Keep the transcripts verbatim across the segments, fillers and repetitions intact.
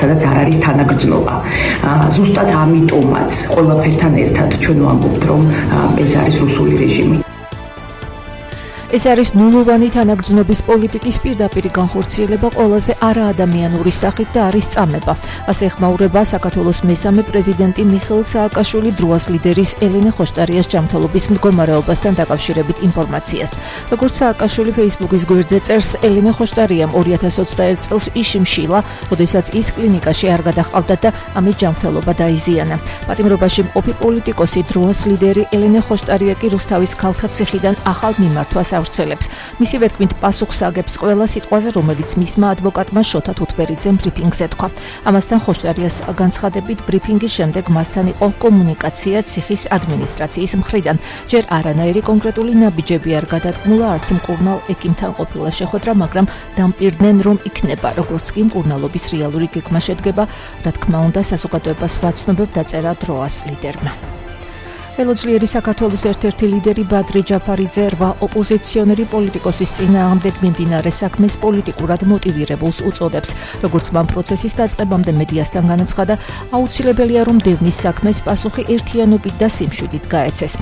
სადაც არ არის თანაგრძნობა. ზუსტად ამიტომაც ყველაფერთან ერთად ჩვენ ვამბობთ, რომ ეს არის რუსული რეჟიმი. ეს არის ნულოვანი თანაგრძნობის პოლიტიკის პირდაპირ განხორციელება ყველაზე არაადამიანური სახით და არის წამება. ასე ეხმაურება საქართველოს მესამე პრეზიდენტი მიხეილ სააკაშვილი დროას ლიდერის ელენე ხოშტარიას ჯანმრთელობის მდგომარეობასთან დაკავშირებით ინფორმაციას. როგორც სააკაშვილი Facebook-ის გვერდზე წერს, ელენე ხოშტარიამ ორი ათას ოცდაერთ წელს იშიმშილა, როდესაც ის კლინიკაში არ გადაჰყავდა და ამით ჯანმრთელობა დაიზიანა. პატიმრობაში მყოფი პოლიტიკოსი დროას ლიდერი ელენე ხოშტარია კი რუსთავის ქალთა ციხიდან ახალ მიმართვას ავრცელებს. მისივე თქმით პასუხს აგებს ყველა სიტყვაზე, რომელიც მისმა ადვოკატმა შოთა თუთბერიძემ ბრიფინგზე თქვა. ამასთან ხოშტარიას განცხადებით ბრიფინგის შემდეგ მასთან იყო კომუნიკაცია ციხის ადმინისტრაციის მხრიდან. ჯერ არანაირი კონკრეტული ნაბიჯები არ გადადგმულა, არც მკურნალ ექიმთან ყოფილა შეხვედრა, მაგრამ დამპირდნენ, რომ იქნება, როგორც კი მკურნალობის რეალური გეგმა შედგება, რა თქმა უნდა, საზოგადოებას ვაცნობებ, დაწერა დროას ლიდერმა. ელოძლიერი საქართველოს ერთ-ერთი ლიდერი ბადრი ჯაფარიძე რვა ოპოზიციონერი პოლიტიკოსის წინააღმდეგ მიმდინარე საქმეს პოლიტიკურად მოტივირებულს უწოდებს. როგორც მან პროცესის დაწყებამდე მედიასთან განაცხადა, აუცილებელია, რომ დევნის საქმეს პასუხი ერთიანობით და სიმშვიდით გაეცეს.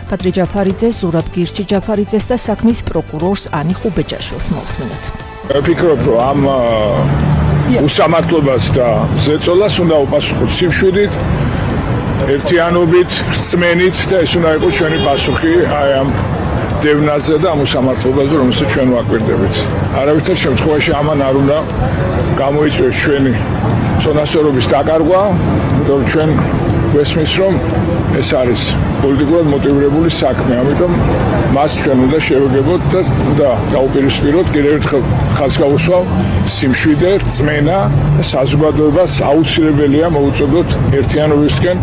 ბადრი ჯაფარიძე ზურაბ გირჩი ჯაფარიძეს და საქმის პროკურორს ანი ხუბეჯაშვილს მოვსმინოთ. ვფიქრობ, რომ ამ უსამართლობას და ზეწოლას უნდა უპასუხოთ სიმშვიდით, ერთიანობით, რწმენით და ეს უნდა იყოს ჩვენი პასუხი აი ამ დევნაზე და ამ უსამართლობაზე, რომელსაც ჩვენ ვაკვირდებით. არავითარ შემთხვევაში ამან არ უნდა გამოიწვიოს ჩვენი წონასწორობის დაკარგვა, იმიტომ რომ ჩვენ გვესმის, რომ ეს არის პოლიტიკურად მოტივირებული საქმე, ამიტომ მას ჩვენ უნდა შევეგებოთ და უნდა დაუპირისპიროთ, კიდევ ერთხელ ხაზს გავუსვავ, სიმშვიდე, რწმენა და საზოგადოებას აუცილებელია მოუწოდოთ ერთიანობისკენ,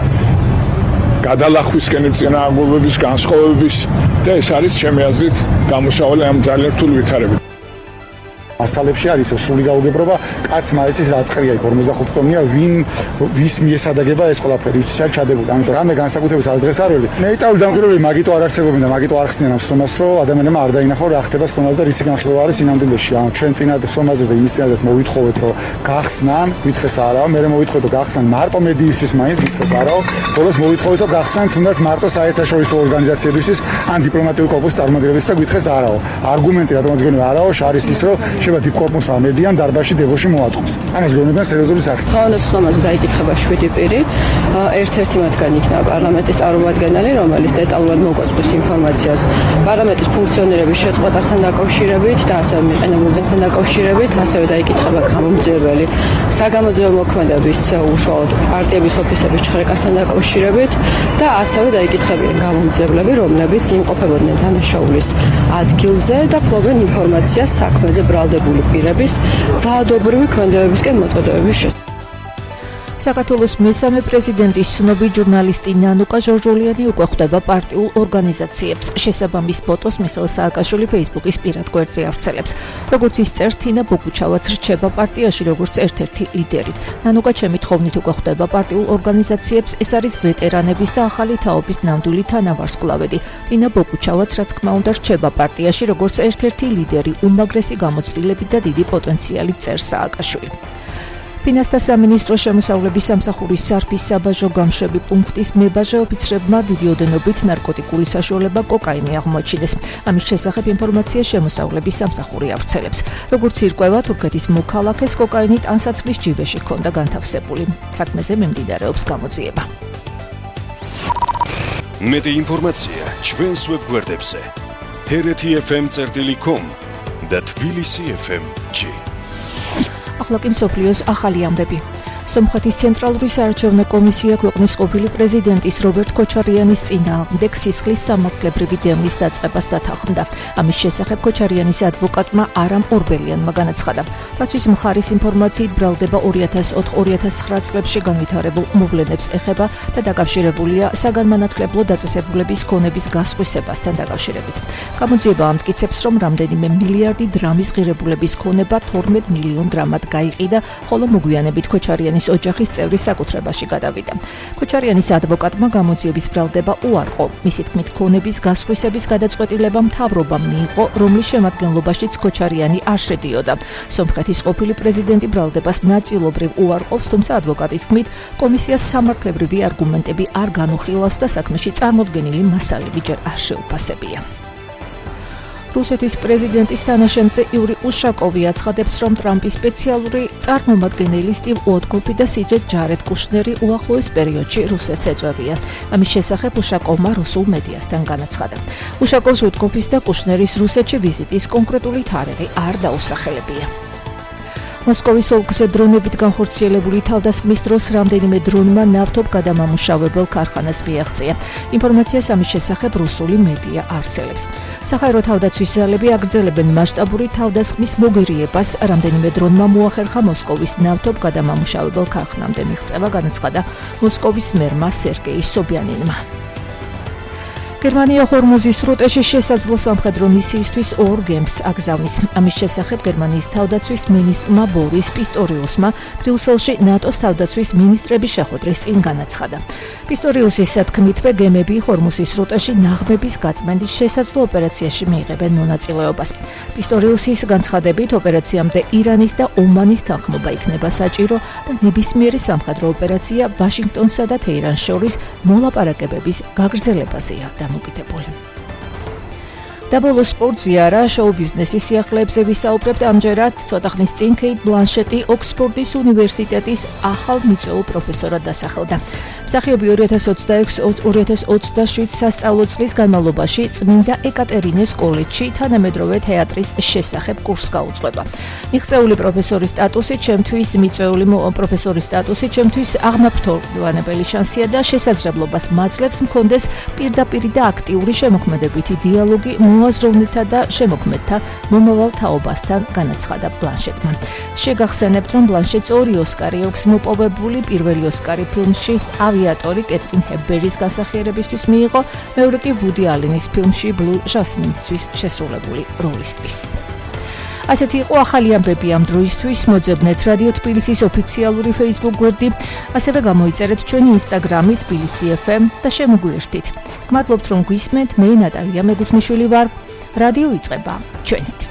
გადალახვისკენ, წინააღმდეგობის განსხვავების და ეს არის ჩემი აზრით გამოსავალი ამ ძალიან რთული ვითარებით. მასალებში არის სრული გაუგებრობა, კაც მარიცის რაწყრია იქ ორმოცდახუთ ტონია, ვინ ვის მიესადაგება ეს ყველაფერი, ვის არის ჩადებული. ამიტომ რამე განსაკუთრების არც დღეს არ ველი. ნეიტრალური დამკვირვებლები მაგიტო არ არსებობენ და მაგიტო არ ხსნიან ამ სტომას, რომ ადამიანებმა არ დაინახონ რა ხდება სტომაზე და რისი განხილვა არის სინამდვილეში. ანუ ჩვენ წინათ სტომაზე და იმის წინათ მოვითხოვეთ, რომ გახსნან, ვითხრეს არაო, მე მოვითხოვეთ, რომ გახსნან მარტო მედიისთვის მაინც ვითხრეს არაო, ბოლოს მოვითხოვეთ, რომ გახსნან თუნდაც მარტო საერთაშორისო ორგანიზაციებისთვის ან დიპლომატიური კორპუსის წარმომადგენლებისთვის და ვითხრეს არაო. არგუმენტი რატომაც გონია არაო, არის ის, რომ შევა დიპლომატიურმა მედიამ დარბაზში დებოში მოაწყოს. ამას გონებიან სერიოზული სახით. თავდასხმაზე დაიკითხება შვიდი პირი. ერთ-ერთი მათგანი იქნება პარლამენტის წარმომადგენელი, რომელიც დეტალურად მოგვაწვდის ინფორმაციას პარლამენტის ფუნქციონირების შეწყვეტასთან დაკავშირებით და ასევე მიყენებულებთან დაკავშირებით, ასევე დაიკითხება გამომძიებელი საგამოძიებო მოქმედების უშუალოდ პარტიების ოფისების ჩხრეკასთან დაკავშირებით და ასევე დაიკითხებიან გამომძიებლები, რომლებიც იმყოფებოდნენ დანაშაულის ადგილზე და ფლობენ ინფორმაციას საქმეზე ბრალდებული პირების ძალადობრივი ქმედებებისკენ მოწოდებების შესახებ. საქართველოს მესამე პრეზიდენტის ცნობი ჟურნალისტი ნანუკა ჟორჟოლიანი უკვე ხვდება პარტიულ ორგანიზაციებს. შესაბამის ფოტოს მიხეილ სააკაშვილი Facebook-ის პირად გვერდზე ავრცელებს. როგორც ის წერს, თინა ბოგუჩავაც რჩება პარტიაში როგორც ერთ-ერთი ლიდერი. ნანუკა ჩემი თხოვნით უკვე ხვდება პარტიულ ორგანიზაციებს, ეს არის ვეტერანების და ახალი თაობის ნამდვილი თანავარსკვლავედი. თინა ბოგუჩავაც რა თქმა უნდა რჩება პარტიაში როგორც ერთ-ერთი ლიდერი, უმაგრესი გამოცდილებით და დიდი პოტენციალით წერს სააკაშვილი. ფინანსთა სამინისტროს შემოსავლების სამსახურის სარფის საბაჟო გამშვები პუნქტის მებაჟე ოფიცრებმა დიდი ოდენობით ნარკოტიკული საშუალება კოკაინი აღმოაჩინეს. ამის შესახებ ინფორმაცია შემოსავლების სამსახური ავრცელებს. როგორც ირკვევა, თურქეთის მოქალაქეს კოკაინი ტანსაცმლის ჯიბეში ჰქონდა განთავსებული. საქმეზე მიმდინარეობს გამოძიება. მეტი ინფორმაცია ჩვენს ვებგვერდებზე ჰერეთი ეფ ემ წერტილი კომ და თბილისი ეფ ემ ჯი. ახლა კი მსოფლიოს ახალი ამბები. სომხეთის ცენტრალური საარჩევნო კომისია ქვეყნის ყოფილი პრეზიდენტის რობერტ ქოჩარიანის წინააღმდეგ სისხლის სამართლებრივი დევნის დაწყებას დათანხმდა. ამის შესახებ ქოჩარიანის ადვოკატმა არამ ორბელიანმა განაცხადა. დაცვის მხარის ინფორმაციით ბრალდება ორი ათას ოთხ ორი ათას ცხრა წლებში განვითარებულ მოვლენებს ეხება და დაკავშირებულია საგანმანათლებლო დაწესებულების ქონების გასხვისებასთან დაკავშირებით. გამოძიება ამტკიცებს, რომ რამდენიმე მილიარდი დრამის ღირებულების ქონება თორმეტ მილიონ დრამად გაიყიდა, ხოლო მოგვიანებით ქოჩარიანი ქოჩარიანის ოჯახის წევრის საკუთრებაში გადავიდა. ქოჩარიანის ადვოკატმა გამოძიების ბრალდება უარყო. მისი თქმით, ქონების გასხვისების გადაწყვეტილება მთავრობამ მიიღო, რომლის შემადგენლობაშიც ქოჩარიანი არ შედიოდა. სომხეთის ყოფილი პრეზიდენტი ბრალდებას ნაწილობრივ უარყოფს, თუმცა ადვოკატის თქმით, კომისიას სამართლებრივი არგუმენტები არ განუხილავს და საქმეში წარმოდგენილი მასალები ჯერ არ შეუფასებია. რუსეთის პრეზიდენტის თანაშემწე იური უშაკოვი აცხადებს, რომ ტრამპის სპეციალური წარმომადგენელი სტივ უოტკოფი და სიჯე ჯარედ კუშნერი უახლოეს პერიოდში რუსეთს ეწევიან. ამის შესახებ უშაკოვმა რუსულ მედიასთან განაცხადა. უშაკოვს უოტკოფის და კუშნერის რუსეთში ვიზიტის კონკრეტული თარიღი არ დაუსახელებია. მოსკოვის ოლქზე დრონებით განხორციელებული თავდასხმის დროს რამდენიმე დრონმა ნავთობ გადამამუშავებელ ქარხანას მიაღწია. ინფორმაციას ამის შესახებ რუსული მედია ავრცელებს. საჰაერო თავდაცვის ძალები აგრძელებენ მასშტაბური თავდასხმის მოგერიებას. რამდენიმე დრონმა მოახერხა მოსკოვის ნავთობ გადამამუშავებელ ქარხნამდე მიღწევა, განაცხადა მოსკოვის მერმა სერგეი სობიანინმა. გერმანია ჰორმუზის სრუტეში შესაძლო სამხედრო მისიისთვის ორ გემს აგზავნის. ამის შესახებ გერმანიის თავდაცვის მინისტრმა ბორის პისტორიუსმა ბრიუსელში ნატოს თავდაცვის მინისტრების შეხვედრის წინ განაცხადა. პისტორიუსის თქმითვე, გემები ჰორმუზის სრუტეში ნაღმების გაწმენდის შესაძლო ოპერაციაში მიიღებენ მონაწილეობას. პისტორიუსის განცხადებით, ოპერაციამდე ირანის და ომანის თანხმობა იქნება საჭირო და ნებისმიერი სამხედრო ოპერაცია ვაშინგტონსა და თეირანს შორის მოლაპარაკებების გაგრძელებაზეა დამოკიდებული. და ბოლო სპორტზე არა, შოუ ბიზნესის სიახლეებზე ვისაუბრებთ. ამჯერად ცოტა ხნის წინ კეით ბლანშეტი ოქსფორდის უნივერსიტეტის ახალ მიწვეულ პროფესორად დასახელდა. მსახიობი ორი ათას ოცდაშვიდ სასწავლო წლის განმავლობაში წმინდა ეკატერინეს კოლეჯში თანამედროვე თეატრის შესახებ კურსს გაუძღვება. მიღწეული პროფესორის სტატუსი ჩემთვის მიწვეული პროფესორის სტატუსი ჩემთვის აღმაფრთოვანებელი შანსია და შესაძლებლობას მაძლევს მქონდეს პირდაპირი და აქტიური შემოქმედებითი დიალოგი მოაზროვნეთა და შემოქმედთა მომავალ თაობასთან, განაცხადა ბლანშეტმა. შეგახსენებთ, რომ ბლანშეტს ორი ოსკარი აქვს მოპოვებული. პირველი ოსკარი ფილმში ავიატორი კეთრინ ჰეპბერნის განსახიერებისთვის მიიღო, მეორე კი ვუდი ალენის ფილმში ბლუ ჟასმინისთვის შესრულებული როლისთვის. ასეთი იყო ახალი ამბები ამ დროისთვის. მოძებნეთ რადიო თბილისის ოფიციალური Facebook გვერდი, ასევე გამოიწერეთ ჩვენი Instagram-ი თბილისი ეფ ემ და შემოგვიერთდით. გმადლობთ, რომ გვისმენთ. მე ნატალია მეგუთმიშვილი ვარ. რადიო იწყება ჩვენით.